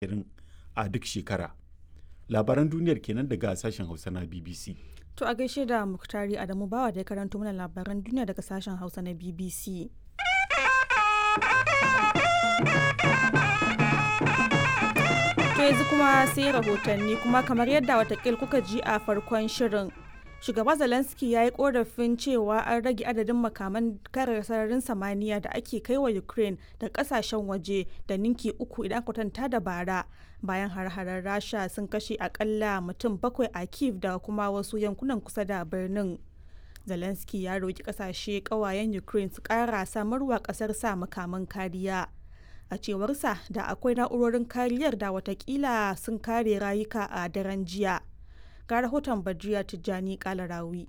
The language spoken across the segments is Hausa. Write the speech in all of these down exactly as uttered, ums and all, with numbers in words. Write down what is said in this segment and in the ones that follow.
ashirin a duk shekara. Labaran duniyar kenan daga sashen Hausa na B B C. To a gaishe da Muktari Adamu Bawa da ya karanto mana labaran duniya daga sashen Hausa na B B C. To yanzu kuma sai rahotanni, kuma kamar yadda watakil kuka ji a farkon shirin. Shugaba Zelensky ya yi korafin cewa an rage adadin makaman kare sararin samaniya da ake kai wa Ukraine da kasashen waje da ninki uku idan kwatanta da bara, bayan har-harar Rasha sun kashe akalla mutum bakwai a Kiev da kuma wasu yankunan kusa da birnin. Zelensky ya roki kasashe kawayen Ukraine su kara samarwa kasar sa makaman kariya. A cewarsa, da akwai na'urorin kariyar da watakila sun kare rayuka a daren jiya. Ga rahoton Badriya Tijjani Kalarawi.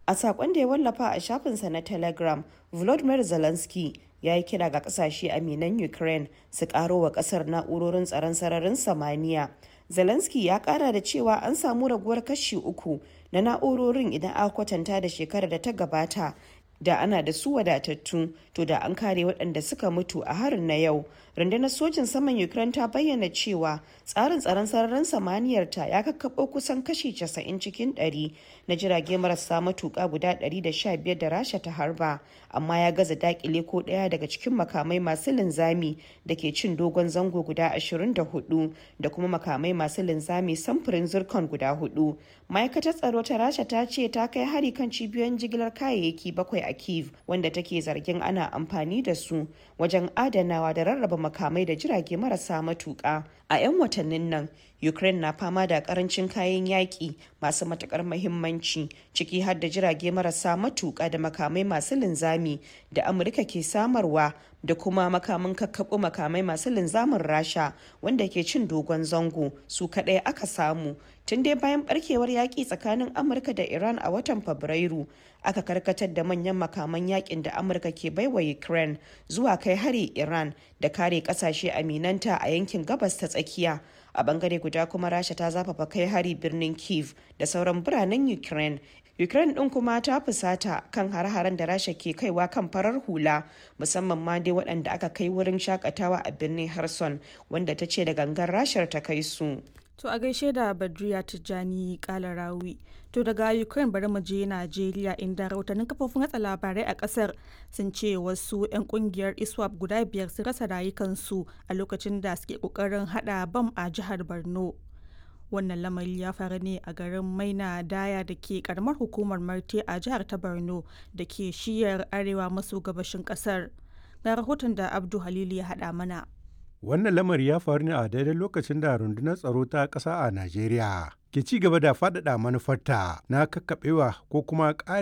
A saƙon da ya wallafa a shafinsa na Telegram, Volodymyr Zelensky ya yi kira ga ƙasashe aminan Ukraine su ƙaro wa ƙasar na'urorin tsaron sararin samaniya. Zelensky ya ƙara da cewa an samu raguwar kashi uku na na'urorin idan aka kwatanta da shekarar da ta gabata. Da ana da su wadatattu, to da an kare waɗanda suka mutu a harin na yau. Rundunar sojin saman Ukraine ta bayyana cewa tsarin tsaron sararin samaniyar ta ya kakkaɓo kusan kashi casa'in cikin ɗari na jirage marasa matuƙa guda ɗari da sha biyar da Rasha ta harba, amma ya gaza dakile ko ɗaya daga cikin makamai masu linzami da ke cin dogon zango guda ashirin da huɗu da kuma makamai masu linzami samfurin Zircon guda hudu. Ma'aikatar tsaro ta Rasha ta ce ta kai hari kan cibiyoyin jigilar kayayyaki bakwai a Kiev, wanda take zargin ana amfani da su wajen adanawa da rarraba makamai da jirage marasa matuƙa. A 'yan watannin nan, Ukraine na fama da karancin kayan yaƙi masu matuƙar mahimmanci, ciki har da jirage marasa matuƙa da makamai masu linzami da Amurka ke samarwa da kuma makamin kakkaɓo makamai masu linzamin Rasha wanda ke cin dogon zango su kaɗai aka samu. Tun dai bayan barkewar yaƙi tsakanin Amurka da Iran a watan Fabrairu, aka karkatar da manyan makaman yakin da Amurka ke baiwa Ukraine zuwa kai hari Iran da kare ƙasashe aminanta a yankin Gabas ta Tsakiya. A bangare guda kuma, Rasha ta zafafa kai hari birnin Kiev da sauran biranen Ukraine. Ukraine din kuma ta fusata kan hare-haren da Rasha ke kaiwa kan farar hula, musamman ma dai waɗanda aka kai wurin shakatawa a birnin Kherson, wanda ta ce da gangan Rashar ta kai su. To a gaishe da Badriya Tijjani Kalarawi. To daga Ukraine bari mu je Najeriya, inda rahotannin kafofin watsa labarai a kasar sun ce wasu 'yan kungiyar ISWAP guda biyar sun rasa rayukansu a lokacin da suke kokarin hada bam a jihar Borno. Wannan lamari ya faru ne a garin Maina Daya da ke karamar hukumar Marte a jihar ta Borno da ke shiyar arewa maso gabashin kasar. Ga rahoton da Abdu Halilu ya hada mana. Wannan lamari ya faru ne a daidai lokacin da rundunar tsaro ta ƙasa a Najeriya ke ci gaba da faɗaɗa manufarta na kakkaɓewa ko kuma ƙare